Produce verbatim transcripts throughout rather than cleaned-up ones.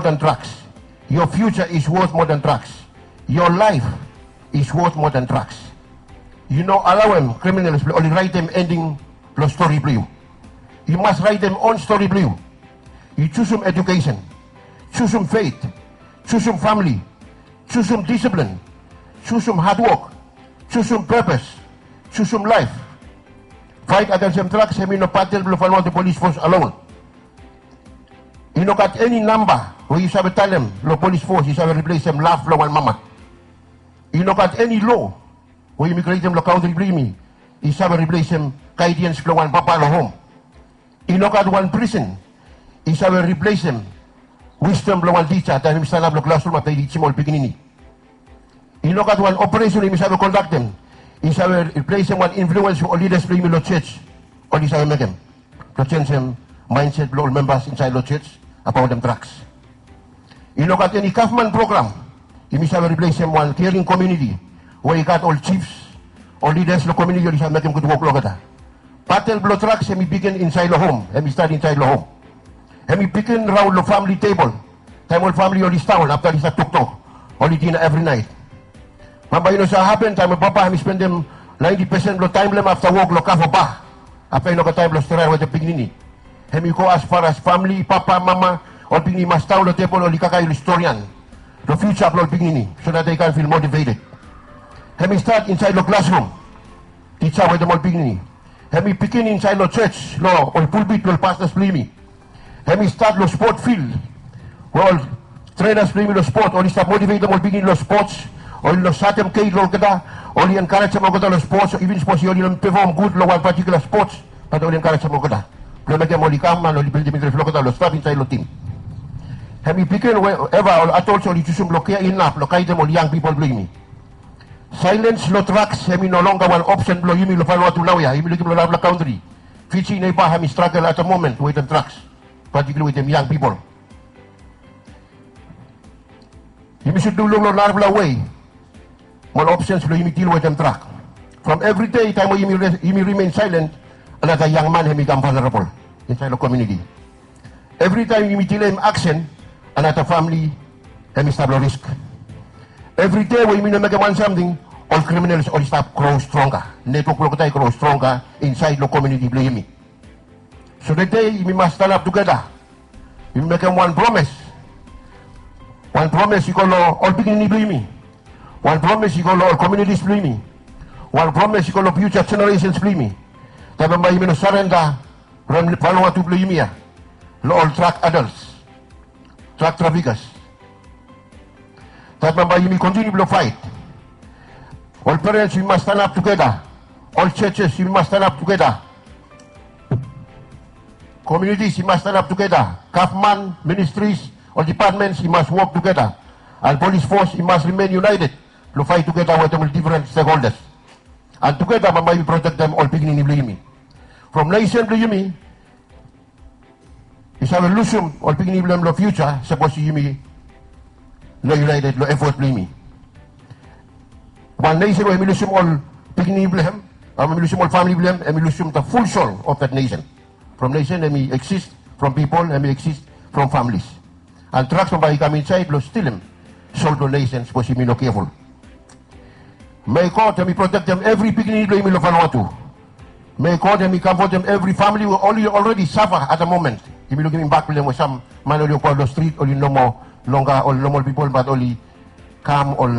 than drugs. Your future is worth more than drugs. Your life is worth more than drugs. Yu no alaoem criminals blong oli raetem ending blong stori blong yu. Yu mas raetem own stori blong yu. Yu jusum education, jusum faith, jusum famili, jusum disiplin, jusum hadwok, jusum purpose, jusum laef. Faet agensem drugs hemi no batel blong Vanuatu Polis Fos alone. I no gat eni namba we yu save talem long polis fos i save riplesem laf blong wan mama. I no gat eni loa we yumi krietem long kantri blong yumi i save riplesem gaediens blong wan papa long hom. I no gat wan prison i save riplesem wisdom blong wan tija taem hemi stanap long klasrum afta i tijim ol pikinini. I no gat wan operesen yumi save kondaktem i save riplesem wan influens we ol lidas blong yumi long jos oli save mekem blong jenisim maenset blong ol membas insaed long jos abaotem drugs. I no gat eni gavman program yumi save riplesem wan kering komuniti we i gat ol jifs, ol lidas long komuniti oli save mekem gud wok long olgeta. Batel blong drugs hemi bigin insaed long hom, hemi stat insaed long hom. Hemi bigin raon long famili tebol taem ol famili oli sitdaon afta oli stap toktok, oli dina evri naet. Bambae i no save hapen taem ol papa hemi spendem naenti pesen blong taem blong hem afta wok long kava ba. Afta i no gat taem blong stret wetem pikinini. Hemi go as far as famili, papa, mama, ol pikinini i mas daon long tebol oli kakae long storian long fiuja blong ol pikinini so that they can feel motivated. Hemi stat insaed long klasrum, tija wetem ol pikinini. Hemi bigin insaed long jos long ol pulpit blong ol pastas blong yumi. Hemi stat long spot fil we ol trenas blong yumi long spot oli stap motivetem ol pikinini long spots, oli no satem geit long olgeta, oli enkarejem olgeta long spots, iven sapos oli no pefom gud long wan patikula spots, bat oli enkarejem olgeta blong mekem oli kam an oli bildim intres blong olgeta long stap insaed long tim. Hemi bigin we eva ol adols oli jusum blong kea inaf blong gaedem ol yang pipol blong yumi. Saelens long drugs hemi no longer wan opsen blong yumi long Vanuatu naoia. Yumi lukim long narafala kantri, Fiji neba hemi stragel at the moment wetem drugs, patikula wetem yang pipol. Yumi sud luk long narafala wei mo ol opsens blong yumi dil wetem drag. From evri dei taem we yumi rimen saelen, another yang man hemi kam vanerabol insaed long komuniti. Evri taem yumi dileim aksen, another famili hemi stap long risk. Evri dei we yumi no mekem wan samting, ol kriminals oli stap gro stronga. Netwok blong olgeta i gro stronga insaed long komuniti blong yumi. So tede yumi mas stanap tugeta. Yumi mekem wan promes. Wan promes i go long ol pikinini blong yumi. Wan promes i go long ol komunitis blong yumi. Wan promes i go long fiuja jeneresens blong yumi. Taem bambae yumi no sarenda from Vanuatu blong yumi ya long ol drag adals, drag trafikas. Taem bambae yumi kontiniu blong faet. Ol perens yumi mas stanap tugeta. Ol jojes yumi mas stanap tugeta. Komunitis i mas stanap tugeta. Gavman, ministris, ol dipatmens i mas wok tugeta. An polis fos i mas rimen yunaeted blong faet tugeta wetem ol difren stekholdas. An tugeta bambae yumi protektem ol pikinini blong yumi. From nesen blong yumi i save lusum ol pikinini blong hem long fiuja sapos yumi no yunaeted long efot blong yumi. Wan nesen we hemi lusum ol pikinini blong hem, hemi lusum ol famili blong hem, hemi lusum the full soul of that nation. From nesen hemi eksis from pipol, hemi eksis from familis. An drugs bambae i kam insaed blong stilim soul blong nesen sapos yumi no keful. Mei God hemi protektem evri pikinini blong yumi long Vanuatu. Mei God hemi kamfotem evri famili we oli already safa at the moment. Yumi lukim imbak blong hem we sam man oli wokabaot long strit oli no moa longa ol nomol pipol bat oli kam ol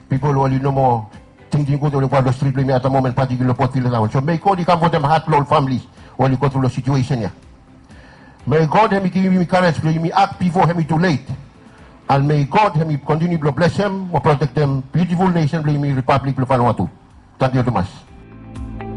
pipol we oli no moa tingting gud oli wokabaot long strit blong yumi at the moment, patikula long Port Phillip taon. So mei God i kamfotem hat blong ol famili we oli gotru long situesen ya. Mei God hemi givim yumi karej blong yumi ak bifo hemi tulet. An mei God hemi kontiniu blong blesem mo protektem biutiful nesen blong yumi, Ripablik blong Vanuatu. Tangkiu tumas.